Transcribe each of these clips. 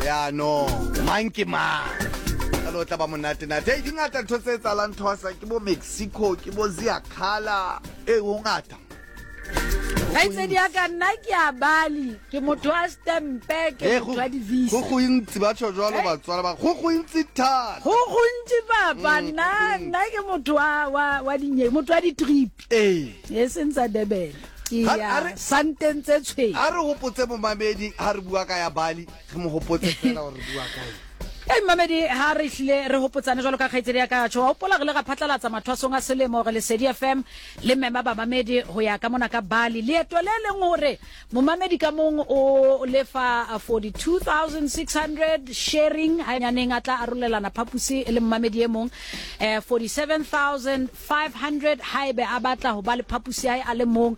Ya no, mang ke mang. Jwale o tla ba monate-nate. Hei, di ngata ntho tse etsahalang Thoasa, ke bo Mexico, ke bo Ziakhala. Ee, ho ngata. Kgaitsedi ya ka nna ke a Bali, ke motho wa stempe, ke Ee, motho wa di-visa. Go gontsi ba tjho jwalo Hey. batswala ba go gontsi thata. Go gontsi papa, Mm, nna go gontsi. nna ke motho wa wa wa dinye, motho wa di-trip. Ee. E seng tsa Durban. Ke Ha- ya ha re- santeng tse tshweu. A re hopotse momamedi ha re bua ka ya Bali, re mo hopotse fela gore re bua ka eng. Ei mmamedi ha re hlile re hopotsane jwalo ka kgaitsedi ya ka tjho wa hopola re le ra phatlalatsa mathwasong a selemo re Lesedi FM le mema bamamedi ho ya ka mona ka Bali leeto le leng hore momamedi ka mong o lefa 42600 sharing ha nyaneng a tla arolelana phapusi le momamedi e mong eh 47500 haebe a batla ho ba le phapusi ya hae a le mong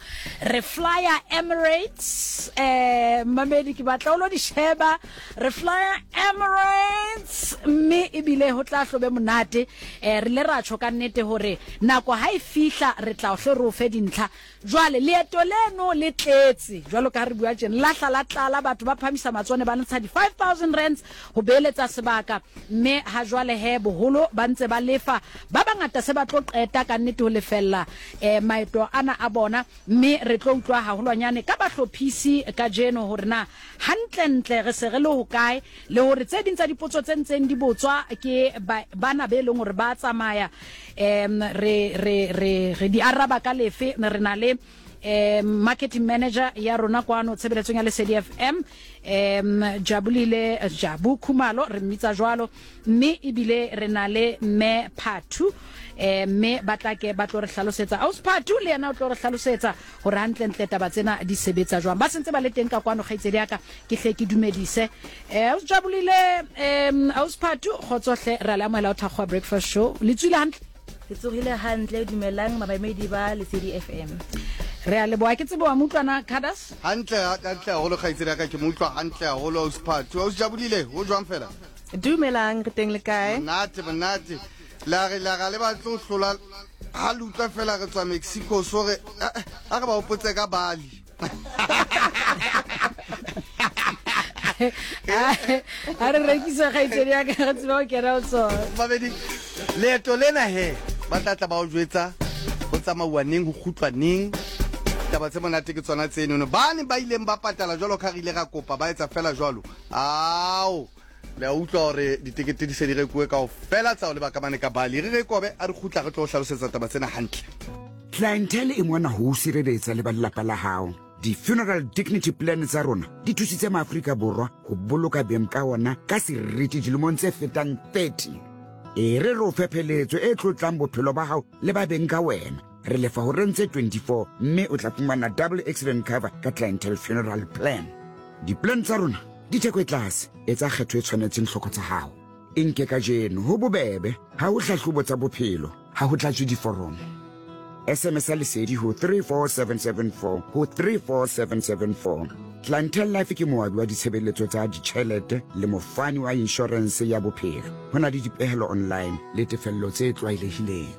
re flyer Emirates eh mmamedi ke batla o lo di sheba Re flya Emirates mme ebile ho tla hlobe monate. Eh, re ile ra tjho ka nnete hore nako ha e fihla re tla hle re o fe dintlha. Jwale leeto leno le tletse jwalo ka ha re bua tjena, la hla la tlala, batho ba phamisa matsoho ne ba ntsha di 5000 rands ho beeletsa sebaka mme ha jwale he boholo ba ntse ba lefa. Ba bangata se ba tlo qeta ka nnete ho lefella eh maeto ana a bona. Mme re tlo utlwa haholwanyane ka bahlophisi kajeno hore na hantlentle re se re le hokae le hore tse ding tsa dipotso tse ntseng di botswa ke ba, bana be leng hore ba tsamaya um re, re, re, re di araba ka lefe. Re na le um marketing manager ya rona kwano tshebeletsong ya Lesedi FM um Jabulile Jabu Khumalo re mmitsa jwalo Mme ebile re na le Mme Phathu, eh, mme ba tla ke ba tlo re hlalosetsa. Ausi Phathu le yena o tlo re hlalosetsa hore hantlentle taba tsena di sebetsa jwang. Ba sentse ba le teng ka kwano, kgaitsedi ya ka, ke hle ke dumedise. Eh, Ausi Jabulile, eh, Ausi Phathu, kgotso hle, re a le amohela ho Thakgowa Breakfast Show. Le tswile hantle? Ke tsogile hantle, dumelang babamedi ba Lesedi FM. Re a leboha. Ke tsebe wa mo utlwa na, Cadas? Hantle, hantle haholo kgaitsedi ya ka, ke mo utlwa hantle haholo Ausi Phathu. Ausi Jabulile, ho jwang fela? Dumelang, re teng le kae? Monate, monate. La re la ga le batle ho hlola ha le utlwa fela re tswa Mexico so re eh, a re ba hopotse ka Bali. A re rekise kgaitsedi ya ka re tsebe ho kena ho tsona. Babedi, leeto lena he ba tla tla ba o jwetsa ho tsamauwa neng ho kgutlwa neng. Taba tse monate ke tsona tsenono. Bane ba ileng ba patala jwalo ka re ile ra kopa ba etsa fela jwalo. Ao Le a utlwa hore ditekete di se di rekuwe kaofela tsa ho leba ka mane ka Bali. Re re kobe a re kgutla re tlo o hlalosetsa taba tsena hantle. Clientele e mona ho o sireletsa le ba lelapa la hao. Di-funeral dignity plan tsa rona di thusitse maAfrika Borwa ho boloka beng ka ona ka seriti dilemong tse fetang 30. E re re o fe pheletso e tlotlang bophelo ba hao le ba beng ka wena. Re lefa horeng tse 24 mme o tla fumana double accident cover ka Clientele Funeral Plan. Di-plan tsa rona di theko e tlase, etsa kgetho e tshwanetseng tlhoko tsa gago. E nke kajeno, ho bobebe, ha ho hlahlobo tsa bophelo, ha ho tlatswe diforomo. SMS ya Lesedi ho 34774 ho 34774. Clientele Life ke moabi wa ditshebeletso tsa ditjhelete le mofani wa inshorense ya bophelo. Ho na le dipehelo online le tefello tse tlwaelehileng.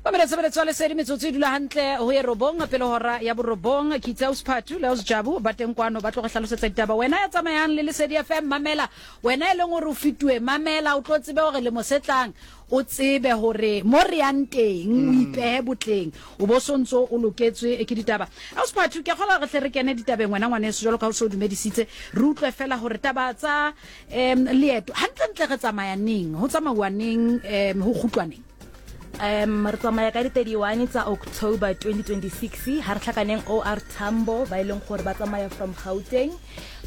Mamela tshebeletso ya Lesedi metsotso e dula hantle ho ye robong pele hora ya borobong. Ke itse Ausi Phathu le Ausi Jabu ba teng kwano ba tlo re hlalosetsa ditaba. Wena ya tsamayang le Lesedi FM mamela, wena e leng hore o fituwe mamela, o tlo tsebe hore lemo se tlang o tsebe hore mo re yang teng o ipehe botleng o bo so ntso o loketswe ke ditaba. Ausi Phathu ke kgolwa re hle re kene ditabeng wena ngwaneso jwalo ka ha o se o dumedisitse re utlwe fela hore taba tsa Um leeto hantlentle re tsamaya neng, ho tsamauwa neng, um ho kgutlwa neng? Um re tsamaya ka di-31 tsa October 2026 ha re tlhakaneng OR Tambo ba e leng gore ba tsamaya from Gauteng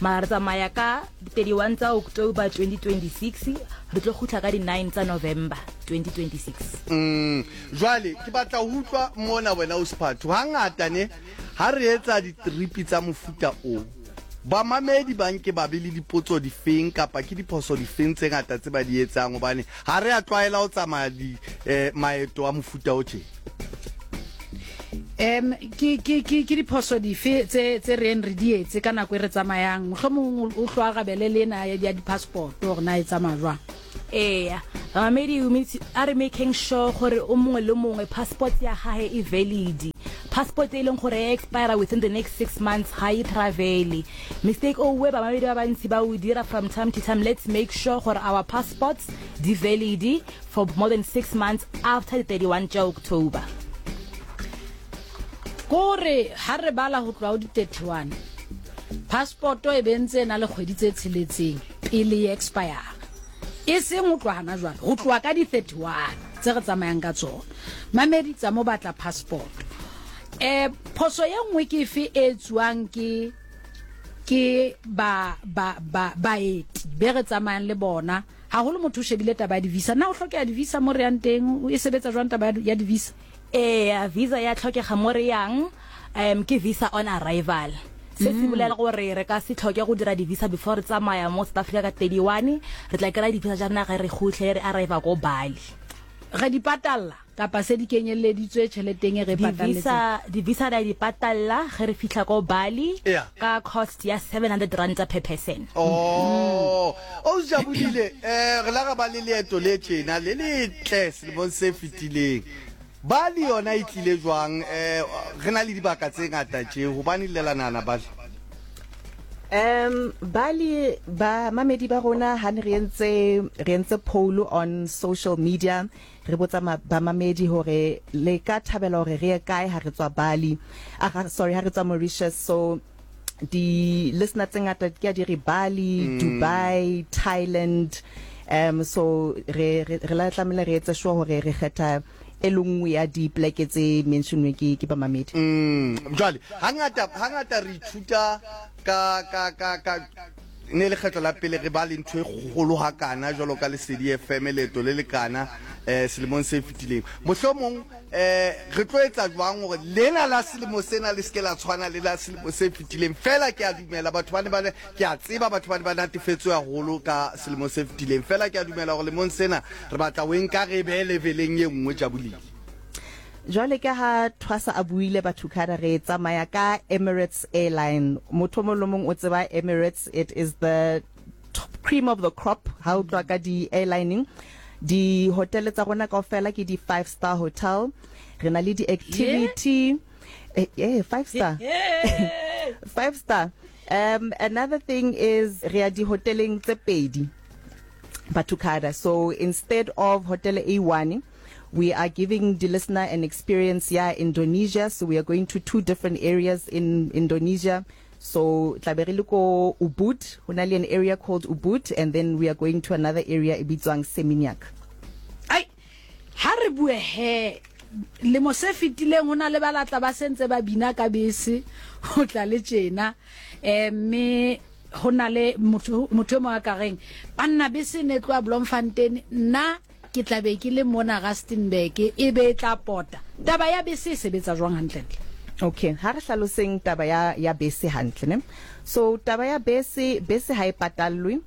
mara re tsamaya ka di-31 tsa October 2026 re tlo kgutla ka di-9 tsa November 2026. Mm, jwale ke batla ho utlwa mona wena o Sephatho hangata ne ha re etsa ditripi tsa mofuta o Bamamedi ba nke ba be le dipotso difeng kapa ke diphoso difeng tse ngata tse ba di etsang hobane ha re a tlwaela ho tsamaya di eh, maeto a mofuta o tje? Um ke ke ke ke diphoso dife tse tse reng re di etse ka nako e re tsamayang? Mohlomong o hlo arabele le ena ya di-passport hore na e tsamaya jwang. Eya, bamamedi a re making sure gore o mongwe le mongwe passport ya gahe e valid. Passport e leng gore e expire within the next 6 months ga e travele. Mistake o we bamamedi ba bantsi ba o dira from time to time. Let's make sure gore our passports di valid for more than 6 months after the 31 tša October. Kore ha re bala ho tloha ho di 31, passport e be ntse e na le kgwedi tse tsheletseng pele e expire. E seng ho tloha hana jwale, ho tloha ka di 31 tse re tsamayang ka tsona. Mamedi tsa mo batla passport. Eh phoso ye nngwe ke efe e etsuwang ke ke ba ba ba baeti be re tsamayang le bona, haholo motho o shebile taba ya di-visa. Na ho hlokeha di-visa mo re yang teng? E sebetsa jwang taba ya di-visa? Eya, visa ya tlhokega mo re yang, um ke visa on arrival. Se se bolela gore re ka se tlhoke go dira di-visa before re tsamaya mo South Africa ka 31, re tla kry-a di-visa tša rena ge re gotlhe re arriva ko Bali. Re di patalla kapa se di kenyelleditswe tšheleteng e re e patalletseng? Di-visa re a di patalla ge re fihla ko Bali ka cost ya 700 ranta per person. Oh, o Jabulile, re la ra ba le leeto le tjena le letle selemong se fetileng. Bali yona e tlile jwang? Eh, re na le dibaka tse ngata tje, hobane le la nahana Bali? Um, Bali, ba mamedi ba rona ha ne re entse re entse poll on social media, re botsa ba mamedi hore le ka thabela hore re ye kae ha re tswa Bali, ah, sorry, ha re tswa Mauritius. So di listener tse ngata ke a di re Bali, Dubai, Thailand. So re re re la tlamehile re etse sure hore re kgetha e le nngwe ya dipleke tse mentionwe ke ke bamamedi. Jwale hangata hangata re ithuta ka ka ka ka ne lekgetlo la pele re ba le ntho e kgolo hakana jwalo ka Lesedi FM, leeto le lekana selemong se fetileng. Mohlomong Eh, re tlo etsa jwang hore lena la selemo sena le se ke la tshwana le la selemo se fetileng? Fela ke a dumela batho ba ne ba ne, ke a tseba batho ba ne ba natefetswe haholo ka selemo se fetileng. Fela ke a dumela hore lemong sena re batla ho e nka re e behe leveleng e nngwe, Jabulile. Jwale ka ha Thwasa a buile, Bathukhada, re tsamaya ka Emirates Airline. Motho o mong le mong o tseba Emirates, it is the top cream of the crop ha o tloha ka di airlining. Di hotel tsa rona kaofela ke di five star hotel. Re na le di activity. Eh, eh, five star. Five star. Another thing is re ya di hoteleng tse pedi, Bathukhada. So instead of hotel e one, we are giving the listener an experience ya Indonesia. So we are going to two different areas in Indonesia. So tla be re le ko Ubud, ho na le an area called Ubud, and then we are going to another area e bitswang Seminyak. Ai, ha re bue he, lemo se fetileng ho na le ba latla ba sentse ba bina ka bese ho tla le tjena, eh, mme ho na le motho motho e mong a ka reng banna bese ne tloha Bloemfontein, nna Ke tla be ke le mona Rustenburg, e be e tla pota. Taba ya bese e sebetsa jwang hantlentle? Okay, ha re hlaloseng taba ya, ya bese hantle, ne? So, taba ya bese, bese ha e patallwe,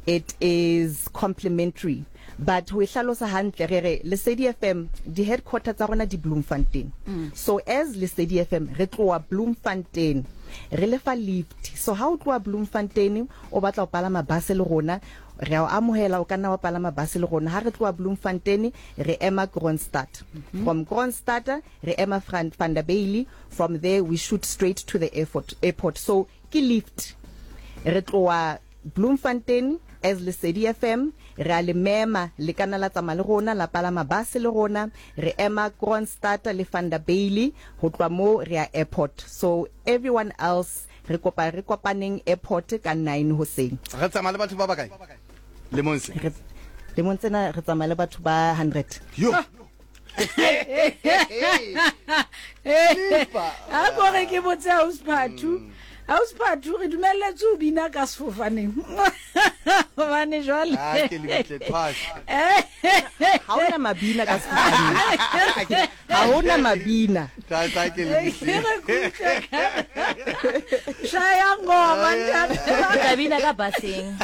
it is complimentary. But ho e hlalosa hantle, re re Lesedi FM, di-headquarter tsa rona di Bloemfontein. So, as Lesedi FM, re tloha Bloemfontein, re lefa lift. So, ha o tloha Bloemfontein, o batla ho palama bus le rona, Re a o amohela, o ka nna wa palama base le rona. Ha re tloha Bloemfontein, re ema Kroonstad. From Kroonstad, re ema Vanderbijl. From there, we shoot straight to the airport, airport. So, ke lift. Re tloha Bloemfontein as Lesedi FM, re a le mema, le ka nna la tsamaya le rona, la palama base le rona. Re ema Kroonstad le Vanderbijl, ho tloha moo re ya airport. So, everyone else Re kopa re kopaneng airport ka nine hoseng. Re tsamaya le batho ba bakae lemong se? Re, lemong tsena re tsamaya le batho ba 100. Yo. A ko re ke botse Ausi Phathu. Ausi Phathu, re dumelletswe ho bina ka sefofaneng. Hobane jwale. Ah, ke le bitle thwasa. Ha hona mabina ka sefofaneng. Ga ho na mabina. Tla tla ke le Shaya ngoma ntate. Ke bina ka baseng.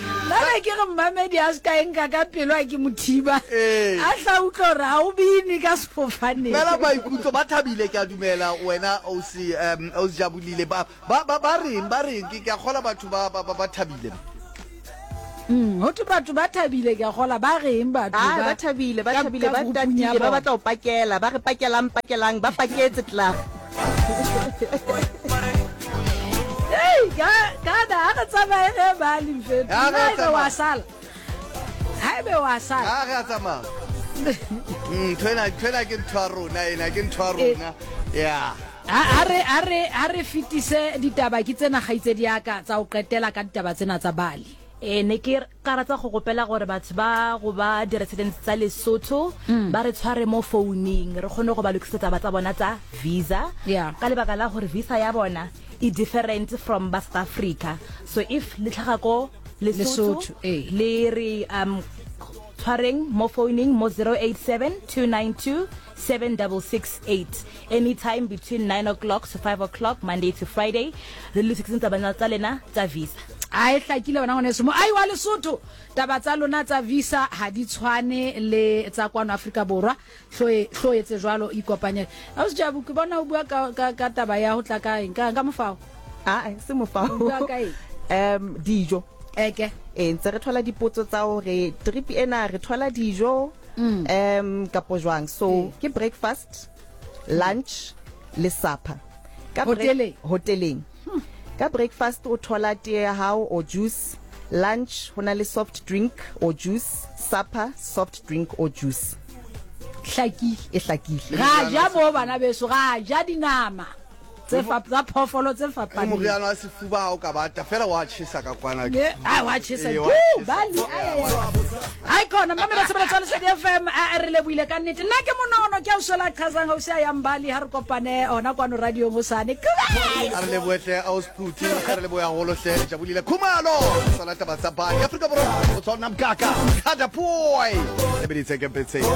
Nna ne ke re mmamedi a se ka e nka ka pelo a ke mothiba. A tla utlwa gore ga o bine ka sefofaneng. Fela maikutlo ba thabile ke a dumela wena ausi ausi Jabulile ba ba ba reng ba reng ke ke a kgola batho ba ba ba thabile. Ho thwe batho ba thabile, ke a kgola ba reng batho Ah, ba thabile, ba thabile, ba tatile, ba batla ho pakela, ba re pakelang, pakelang, ba paketse klaar. Hey, ka kana ha re tsamaye re ba limfetho. Ha re Haebe tsamaya. wa sala. Haebe wa sala. Ha re a tsamaya. Ntho ena, ntho ena ke ntho ya rona ena, ke ntho ya rona. Yeah. Ha re ha re ha re fetise ditaba ke tsena kgaitsedi ya ka tsa ho qetela ka ditaba tsena tsa Bali. Ee, ne ke ka rata go gopela gore batho ba go ba di-residents tsa Lesotho ba re tshware mo founung re kgone go ba lokisetsa taba tsa bona tsa visa Yeah. ka lebaka la gore visa ya bona e different from ba South Africa. So if le tlhaga ko Lesotho Lesotho, ee. le re tshwareng mo founung mo 087 292 7668 anytime between 9 o'clock to 5 o'clock Monday to Friday re lokiseng taba tsa lena tsa visa. A e hlakile wena ngwaneso moahi wa Lesotho taba tsa lona tsa visa ha di tshwane le tsa kwano Afrika Borwa hlo hlo etse jwalo ikopanye Ausi Jabu ke bona o bua ka ka ka taba ya ho tla ka eng ka ka mofao Aa se mofao O bua ka eng? Dijo Eke ee ntse re thola dipotso tsa hore trip ena re thola dijo kapo jwang so ke breakfast lunch le supper ka Hoteleng? hoteleng ka breakfast o thola tee ya hao or juice lunch ho na le soft drink or juice supper soft drink or juice hlakile e hlakile ra ja mo bana beso ra ja dinama tse fa tsa phoofolo tse fapaneng. Moriana wa sefuba ha o ka bata fela wa tjhesa ka kwana. Ne, a wa tjhesa. Ee, wa Woo, tjhesa. Bali, ai, ai, ai. Ai khona mamela tshebeletso ya Lesedi FM a re lebohile ka nnete. Nna ke monono ke a o sola qhazang hausi a yang Bali ha re kopane hona kwano radiong hosane. Goodbye. A re lebohe hle Ausi Phuthi, a re lebohe haholo hle Jabulile Khumalo. Tsona taba tsa Bali. Afrika Borwa o tswa nna Mkaka. Kada boy. Lebeditse ke Betseng.